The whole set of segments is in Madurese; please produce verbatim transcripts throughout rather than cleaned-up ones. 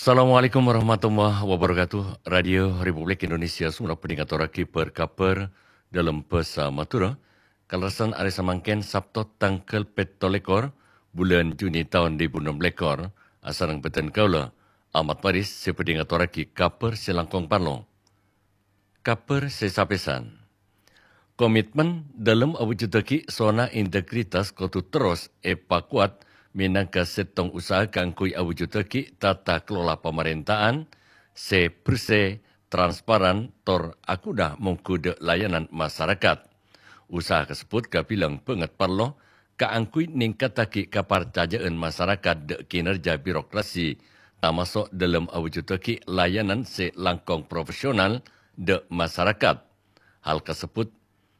Assalamualaikum warahmatullahi wabarakatuh. Radio Republik Indonesia Songennep bhâdhi ngatorraghi bâr-kabhâr dâlem bhâsa Madhurâ. Kalerressan arè samangkèn, Sabto tangghâl pètto lèkor bulân Juni taon duwâ èbu ennem lèkor, asareng bhâdhân kaulâ, Ahmad Faris, sè bhâdhi ngatorraghi kabhâr sè langkong parlo. Kabhâr sè sapèsan. Komitmen dâlem awujuddhâghi zona integritas kodhu terros èpakowat mènangka sèttong usaha kaangghuy awujuddhâghi tata kelola pamarènta'an sè bersè, transparan, tor aghuna mongghu dâ' layanan masarakat. Usaha kasebbhut kabilang bângèt parlo kaangghuy nèngkattaghi kaparcajâ'ân masarakat dâ' kinerja birokrasi, tamaso' dâlem awujuddhâghi layanan sè langkong profesional dâ' masarakat. Hal kasebbhut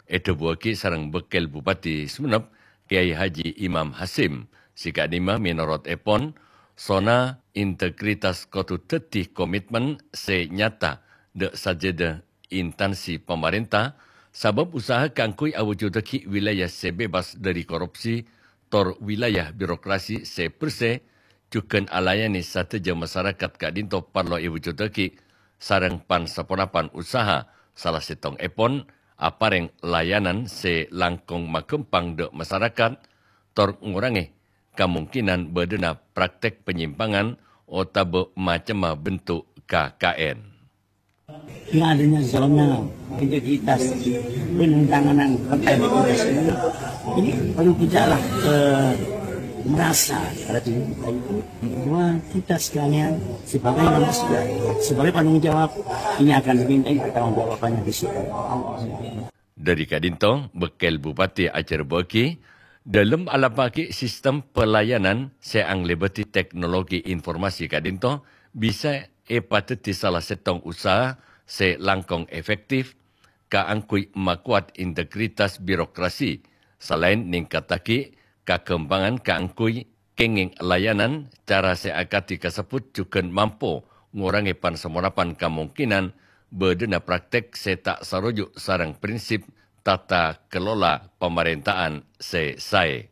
èdhâbuwâghi sareng Bâkkèl Bupati Songennep, Kyai Haji Imam Hasyim, sè ka'dimma mènorot èpon, zona integritas kodhu dhâddhi komitmen sè nyata dâ' sadhâjâ intansi pamarènta, sabâb usaha kaangghuy awujuddhâghi wilayah sè bebas dâri korupsi, tor wilayah birokrasi sè bersè, jhughân alayanè sadhâjâ masarakat ka'dinto parlo èwujuddhâghi, sareng pan-saponapan usaha, sala sèttongngèpon aparèng layanan sè langkong maghâmpang dâ' masarakat, tor ngorangè kamongkènan bâdâna praktek panyimpangan otabâ macemma bentuk K K N. Yang adanya zona integritas, penandatanganan fakta integritas ini, ini perlu kita lah eh, merasa pada diri kita itu bahwa kita sekalian sebagai manusia, sebagai penanggung jawab, ini akan dimintai pertanggungjawabannya di situ. Dâri ka'dinto, Bâkkèl Bupati ajhârbâ'âghi, dâlem alampa'aghi sistem pelayanan sè anglèbâdhi teknologi informasi ka'dinto bisa èpadhâddhi sala sèttong usaha sè langkong efektif kaangghuy makowat integritas birokrasi, salaèn nèngkattaghi kaghâmpangan kaangghuy kèngèng layanan. Cara sè akadhi kasebbhut jhughân mampo ngorangè pan-saponapan kamongkènan bâdâna praktek sè ta' saroju' sareng prinsip tata kelola pamarènta'an sè saè.